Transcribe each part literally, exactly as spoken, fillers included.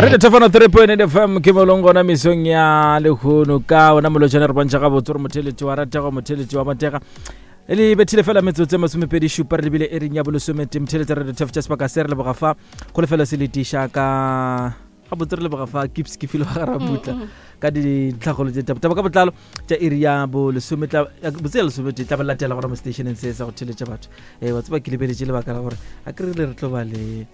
Re thefano three point eight F M ke molong gona mesong ya lehono ka ona molotšane. Re bontšha gabotse gore motheletši wa ratega, motheletši wa motega e le bethile fela metsotso e masomepedi šupa re lebile ering ya bolesomete. Motheletši re thef tša sebaka se re leboga fa go lefela se letiša ka gabotse. Re leboga fa kips ke file wa garabutla ka dintlhagolo tse taba ka botlalo tša iri ya bolesome botse ya lesomete tla ba latela gona mo stationeng se sa go theletša batho. um wa tseba ke lebeletše lebaka la gore a ke rile re tlo ba le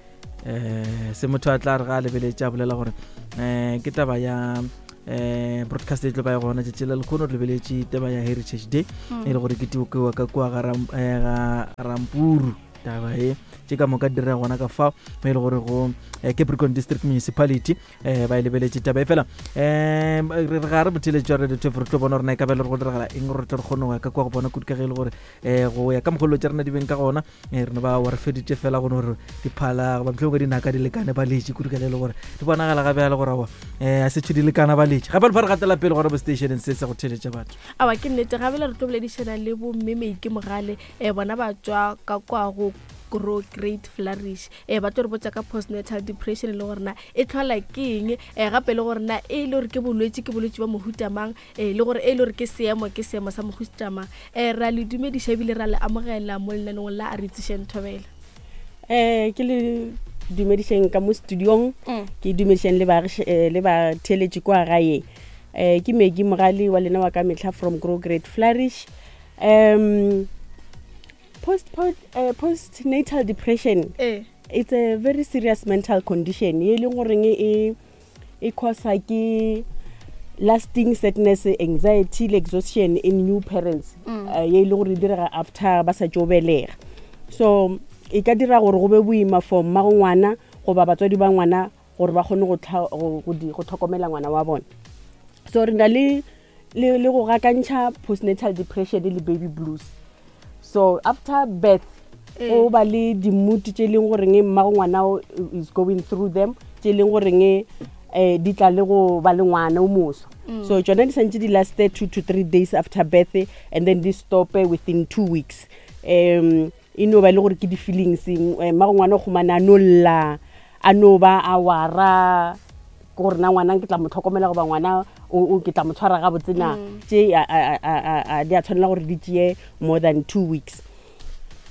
um se motho a tla re ga a lebeletše a bolela gore um ke taba ya um broadcast e tlo ba e gona tšatši la lekgono. Re lebeletše taba ya Heritage Day e le gore ke tiokewa ka kua ga Rampuru. Taba e tše ka moka di dira gona ka fao mo e le gore go Capricorn District Municipality um ba e lebeletše taba e fela. um re ga re botheletši wa Radio Twelve, re tlo bona gore na e ka ba le gore go diragala eng gore re tle re kgone go ya ka kua go bona kudu, ka ge e le gore um go ya ka mogolo tša rena di beng ka gona um re no ba wa re feditše fela go no gore diphala goba mohlomongwe dinaka di lekane ba letše kudu, ka le e le gore di bonagala gabe le gore aowa um a setšho di lekana ba letše gape le fa re gatela pele gore bo stationeng se se go theletša batho. Awa, ke nnete. Gabele re tlo boledišana le bomme Meike Mogale. um bona ba tswa ka kwa go Grow Great Flourish. um ba tlo re botsa ka postnatal depression le gore na e tlhola ke eng, um gape le gore na e le gore ke bolwetse, ke bolwetse ba mohuta mang, um le gore e le gore ke seemo, ke seemo sa mohuta mang. um ra le dumediša ebile ra le amogela mo lenaneong la A Re Itsešeng, Thobela. um ke le dumedišeng ka mo studiong, ke dumedišeng le baagiš- eh, le batheeletši kwa gae. um ke Megi Mogale wa lena wa ka metlha from Grow Great Flourish. um post, post, uh, postnatal depression, ee it's a very serious mental condition ye e leng goreng e e causa ke lasting sadness, anxiety le exhaustion in new parents, mm. uh, ye e leng gore e direga after ba sa tšo belega. So e ka dira gore go be boima for mmago ngwana goba batswadi ba ngwana gore ba kgone go tlha- go- go di- go tlhokomela ngwana wa bona. So re na le le le go gakantšha postnatal depression le baby blues. So after birth go ba le di-mood tše e leng goreng mmago ngwana o is going through them, tše e leng goreng um di tla le go ba le ngwana o moso. So tsona di santse di laste two to three days after birth and then di stope within two weeks. um e no ba e le gore ke di-feelings, eh, mmago ngwana o kgomane a no lla, a no ba a wara ke gore na ngwana ke tla mo tlhokomela goba ngwana o- o- ke tla mo tshwara gabotse na. Tše a- a- a- a- a- di a tshwanela gore di tšee more than two weeks.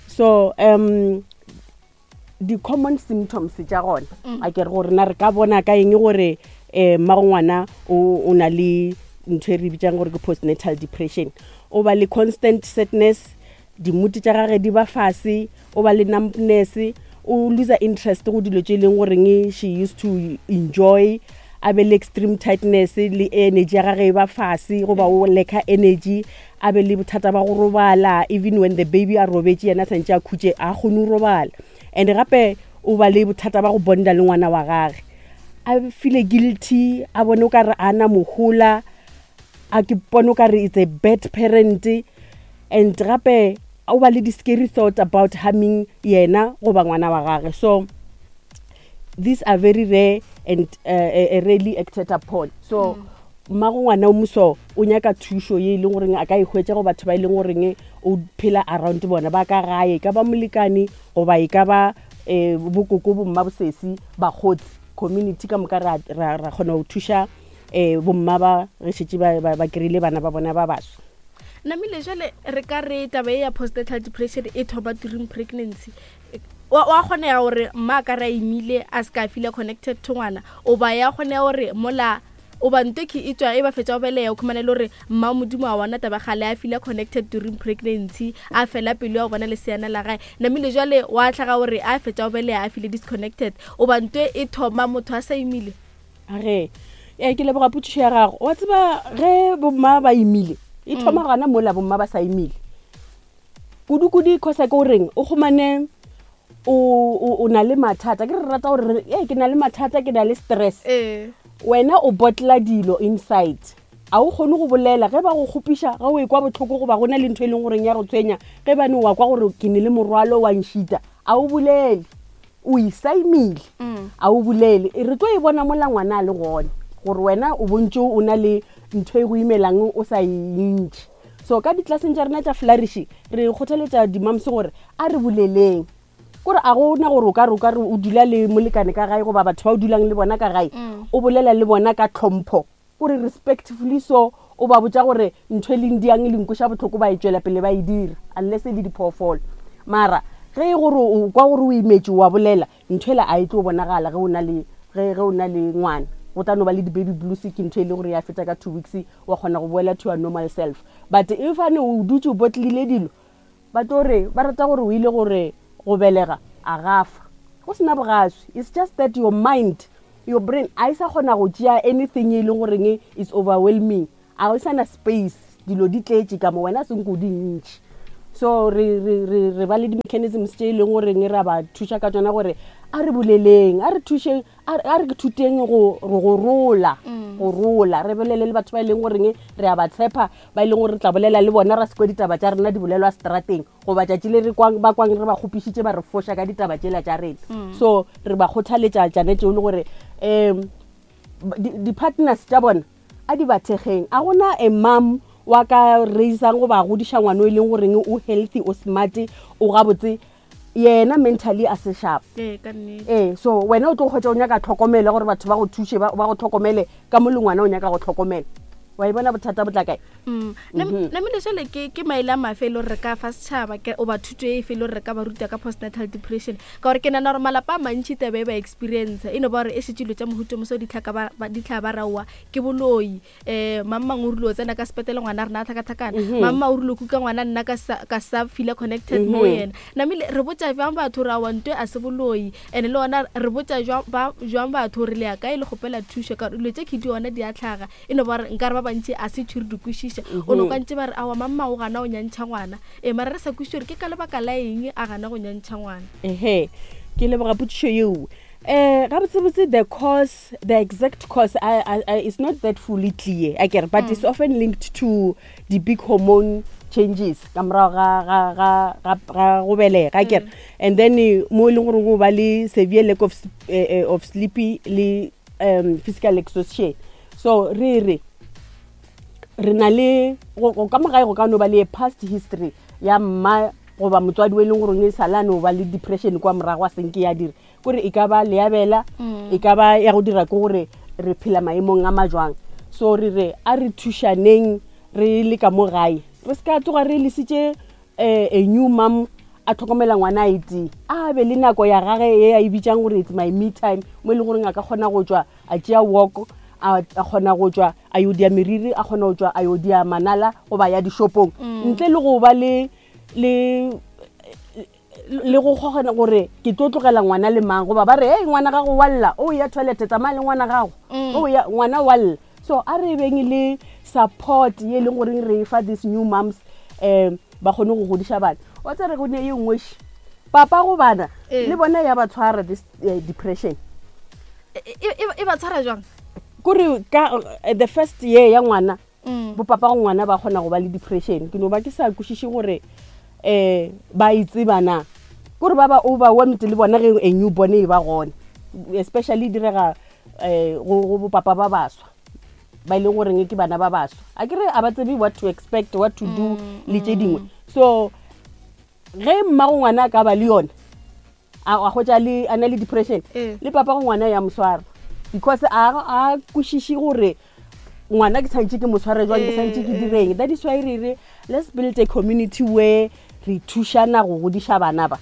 So um di-common symptoms tša gona, a ke re gore na re ka bona ka eng gore um mmago ngwana o o na le ntho e re bitsang gore ke postnatal depression? O ba le constant sadness, di-mood tša gage di ba fase, o ba le numbness, o loser interest go dilo tše e leng goreng she used to enjoy, a be le extreme tightness le energy ya gage e ba fase goba o lacka energy, a be le bothata ba go robala. Even when the baby a robetse, yena a santse a khutše, a kgone go robala. And gape o ba le bothata ba go bonda le ngwana wa gage, a feel guilty, a bone o kare a na mohola, a ke bone o kare it's a bad parent. And gape o ba le di-scary thought about harming yena goba ngwana wa gage. So these are very rare and uh, uh, rarely acted upon. So mmago ngwana o moso o nyaka thušo ye e leng goreng a ka e hwetša go batho ba e leng goreng o phela around bona ba ka gae, e ka ba molekane goba e ka ba um bokoko, bomma, bosesi, bakgotsi, community ka moka. ra ra- ra kgona go thuša um bomma ba ge šetse ba ba- ba kry-ile bana ba bona ba baswa. Namile jale re ka re taba e ya postnatal depression e thoma during pregnancy. Wa wa kgonega gore mma a ka re a imile a se ka feel connected to ngwana, o ba ya kgonega gore mola o ba nto ke e tswa e ba fetsa go beleya, o khumane le gore mma modimo a bona taba gale a feel connected during pregnancy, a fela pelo ya go bona leseana la gae. Namile jale wa tlhaga gore a fetsa go beleya a feel disconnected, o ba nto e thoma motho a sa imile? Age ee, ke leboga potšišo ya gago. Wa tseba ge bomma ba imile e thoma gana mola bomma ba sa imile kudu-kudu, causa ke goreng o kgomane o o- o na le mathata. Ke re rata gore re- ee, ke na le mathata, ke na le stress. Ee wena o bottla dilo inside, a o kgone go bolela ge ba go kgopiša, ge o e kwa botlhoko goba go na le ntho e leng goreng ya go tshwenya, ge bane wa kwa gore ke ne le morwalo wa nšita, a o bolele, o isaimile, a o bolele. E re tlo e bona mola ngwana a le gona gore wena o bontse o na le ntho e go imelang o sa e ntšhe. So ka ditlelaseng tša rena tša Flourish re kgothaletša di-moms gore a re boleleng. Kore a gona gore o ka re o ka re o dula le molekane ka gae goba batho ba o dulang le bona ka gae, o bolela le bona ka tlhompho, kore respectfully. So o ba botsa gore ntho e leng diang e leng koša botlhoko, ba e tswela pele ba e dira unless e le diphoofolo. Mara ge e gore o kwa gore o imetse, wa bolela, ntho ela a e tlo bonagala ge o na le ge ge o na le ngwana. Go tla no ba le di-baby blues, ke ntho e leng gore ya feta ka two weeks, wa kgona go boela to your normal self. But if ane o dutse o botlile dilo, ba tlo re ba rata gore o ile gore go belega a gafa go sena bogaswi. It's just that your mind, your brain a e sa kgona go tšea anything e leng goreng is overwhelming. A o sana space, dilo di tletše ka mo wena, senko di ntši. So re re re re ba le di-mechanisms tše e leng goreng re a ba thuša ka tsona, gore a re boleleng, a re thušeng, a re- a re thuteng go go rola, go rola, re bolele le batho ba e leng goreng re a ba tshepa, ba e leng gore re tla bolela le bona, ra se kwe ditaba tša rena di bolelwa strateng, goba tšatši le re kwang ba kwang re ba kgopišitše, ba re foša ka ditaba tšela tša rena. So re ba kgothaletša tšane tšeo, le gore um di-partners tša bona a di ba thekgeng. A gona a mom wa ka raisang goba a godiša ngwana o e leng goreng o healthy, o smart, o gabotse, yena mentally a se sharp. Ee, ka nnete. Ee, so wena o tlo kgwetsa o nyaka tlhokomelo, gore batho ba go thuše, ba ba go tlhokomele ka mo le ngwana o nyaka go tlhokomela. Wa e bona bothata bo tla kae? Mm. Namile jale ke ke maele a mafe e le gore re ka fa setšhaba ke oba thuto e efe e le gore re ka ba ruta ka postnatal depression? Ka gore ke nana gore malapa a mantši taba e ba experience e no ba gore e šetse dilo tša mohuto moso ditlhaka ba- ba- ditlha ba raowa ke boloi. um Mamang o rile o tsena ka sepetele, ngwana a rena a tlhakatlhakana. Mamma o rile o kuka ngwana, nna ka sa- ka sa feela connected mo yena. Namile re botša jwang batho gore aowa, ntwe a se boloi? And le gona re botša jwang ba- jwang batho gore le ya kae le kgopela thušo? Ka gore dilo tše ke di ona di a tlhaga, e no ba gore nkare ba bantši a se tšhore di kwešiša. O no kwa ntse ba re aowa, mamma o gana go nyantšha ngwana, ee, mara re sa kwešiše gore ke ka lebaka la eng a gana go nyantšha ngwana. Ehe, ke leboga potšišo yeo. um gabotsebotse the cause, the exact cause I, I, I, is not that fully clear akere, but mm. it's often linked to the big hormone changes ka morago ga ga ga ga ga go belega akere. And then eh, mo e leng gore go ba le severe lack of, s- eh, eh, of sleepy le um, physical exhaustion. So re re re na le go go- ka mogae go ka no ba le a past history ya mma goba motswadi o e leng gore e sale a no ba le depression kwa morago, a senke ya dira kore e ka ba leabela, e ka ba ya go dira ke gore re phela maemong a majwang. So re re a re thušaneng re le ka mo gae, re se ka tsoga re lesitše um a new mom a tlhokomela ngwana a etee. A be le nako ya gage e a e bitsang gore it's my me time, mo e leng goreng a ka kgona go tswa a tšea walk, a a kgona go tswa a yo dia meriri, a kgona go tswa a yo dia manala goba ya dishopong, ntle le go ba le le le go kgogana gore ke tlo tlogela ngwana le mang, goba ba re, "Ei, ngwana gago wa lla, o ya toilet, tsamaya le ngwana gago, o ya ngwana wa lla." So a re beng le support ye e leng goreng re fa these new moms, um ba kgone go godiša bana. Wa tsere go ne ye nngwe še papa go bana Ee. le bona ya ba tshwara this uh, depression. E- e e- e ba tshwara jwang? Kore ka uh, the first year ya ngwana, Mm. bopapa go ngwana ba kgona go ba le depression. Ke no ba ke sa kwešiše gore um ba e tseba na, kore ba ba overwhelmed le bona ge a newborn e ba gone, especially e direga um go go bopapa ba baswa ba e leng goreng ke bana ba baswa, a kere a ba tsebe what to expect, what to do le tše dingwe. So ge mmago ngwana a ka ba le yone, a a hwetša le a na le depression, Ee. le papa go ngwana ya mo swara, because a a kwešiše gore ngwana ke tshwanetse ke mo tshware jwang, ke tshwanetse ke Ee, direng. That is why re re let's build a community where re thušana go godiša bana ba.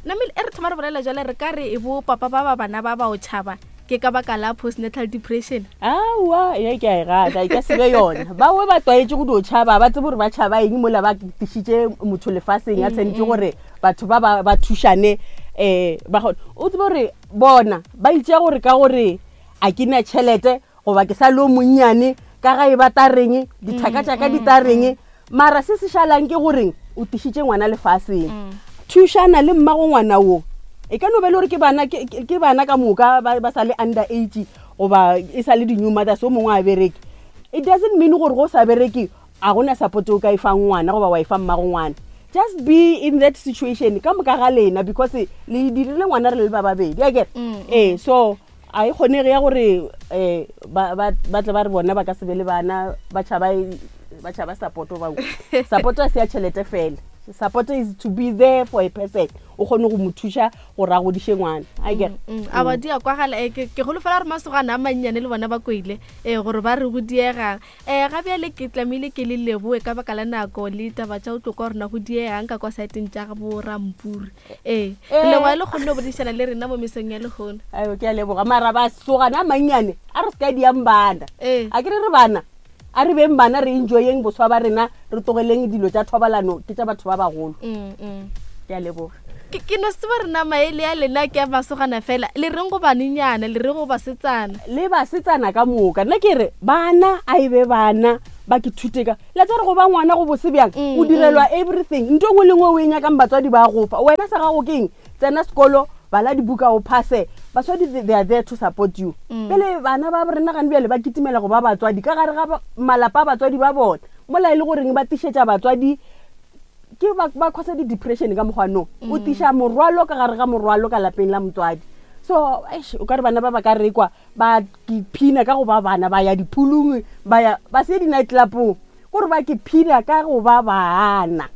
Namile e re thoma re bolela jale, re ka re e bo papa ba ba bana ba ba o tšhaba ke ka baka la postnatal depression? Aowa, ye ke a e rata, e ka se be yona. Bangwe ba tlwaetse go dio tšhaba, ba tsebe gore ba tšhaba eng mola ba tlišitše motho lefaseng a tshwanetse gore batho ba ba ba thušane. um ba kgone o tsebe gore bona ba itšea gore ka gore a ke na tšhelete goba ke sa le o monnyane ka ga e ba tareng dithaka tša ka di tareng. Mara se se šalang ke goreng o tlišitše ngwana lefaseng, thušana le mmago ngwana wo. E ka no be le gore ke bana ke ke- ke bana ka moka ba ba sa le under age goba e sa le di-new mothers, o mongwe a bereke. It doesn't mean gore go sa bereke a gona support o ka e fang ngwana goba wa e fa mmago ngwana. Just be in that situation ka moka ga lena, because le dirile ngwana re le ba babedi akere. Ee, so a e kgonege ya gore um ba ba- ba tle ba re bona ba ka se be le bana, ba tšhaba e- ba tšhaba support ba support a se ya tšhelete fela. Support is to be there for a person, o kgone go mo thuša gore a godiše ngwana, a kere. Mm, a ba di a kwagala. eh, ke ke golofela gore masogana a mannyane le bona ba kwele um gore ba re go diegang. um ga bjale ke tlamehile ke le leboe ka baka la nako le taba tša go tlo kwa rona go diegang ka kwa saeteng tša bo rampuri. Ee, re leboa le kgonne go boledišana le rena mo mesong ya lehono. Ayo, ke a leboga. Mara basogana a mannyane, a re se ka diang bana. Ee. A ke re re bana, a re beng bana, re enjoyeng boswa ba rena, re tlogeleng dilo tša thobalano, ke tša batho ba bagolo. Mm, mm. Ke a leboga. Ke ke no se tseba rena maele a lena ke a masogana fela, le reng go banenyana, le reng go basetsana? Le basetsana ka moka, nna ke re bana a e be bana, ba ke thute ka la tsa re go ba ngwana go bose bjang. Mm, O direlwa everything, ntho e nngwe le nngwe o e nyakang batswadi ba gofa wena. Sa gago keng? Tsena sekolo, bala dibuka, o phase. Batswadi, they they are there to support you. Mm. Pele bana ba rena gane bjale ba kitimela go ba batswadi ka gare ga ba- malapa a batswadi ba bona, mola e le goreng ba tišetša batswadi ke ba ba causa di-depression ka mokgwa. O tiša morwalo ka gare ga morwalo ka lapeng la motswadi. So eish, o ka re bana ba ba ka rekwa ba kephina ka go ba bana, ba ya diphulung, ba ya ba se di-night clubong, kore ba kephina ka go ba bana.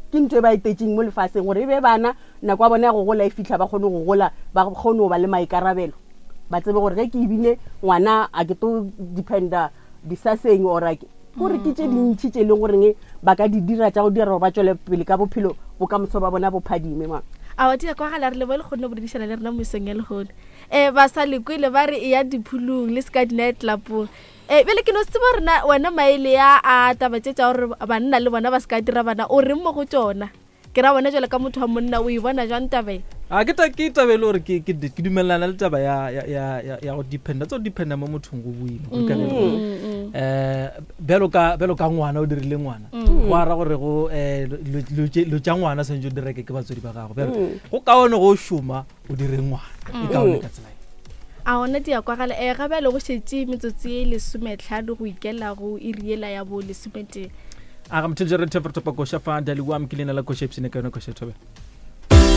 Ke ntho e ba etetseng mo lefaseng gore e be bana. Nako ya bona ya go gola e fitlha, ba kgone go gola, ba kgone go ba le maikarabelo, ba tsebe gore ge ke ebile ngwana a ke to dependa disaseng or a ke kore ke tše dintšhi tše e leng goreng ba ka di dira tša go dira gore ba tswele pele ka bophelo, bokamoso ba bona bo phadime ma. A wa di a kwagala. Re leboe le kgonne go boledišana le rena mo mesong ya lehono. um ba sa lekwele ba re e ya diphulung le se ka di-night clubong. um bjale ke no se tseba rena wena maele ya a taba tše tša gore banna le bona ba se ka dira bana, o reng mo go tšona? Ke ra bona jale ka motho wa monna, o e bona jwang tabe? A ke ta ke taba e le gore ke ke ke dumelana le taba ya ya ya ya- ya go dependa, tsa go dependa mo mothong go boima go ka Mm, eh bjalo ka bjalo ka ngwana o dirile ngwana, go ara gore go eh lo- lo tše- lo tša ngwana santse o direke ke batswadi ba gago. Bjalo go kaone go šoma o dire ngwana, e kaone ka tsela e. A ona di a kwagala. um ga bjale go šetše metsotso ye lesometlhano go ikela go iriela ya bo lesometee. A ga motheletše re thefo re thopa koša fa daliwam ke leina la koša epsene ka yona koša thobe.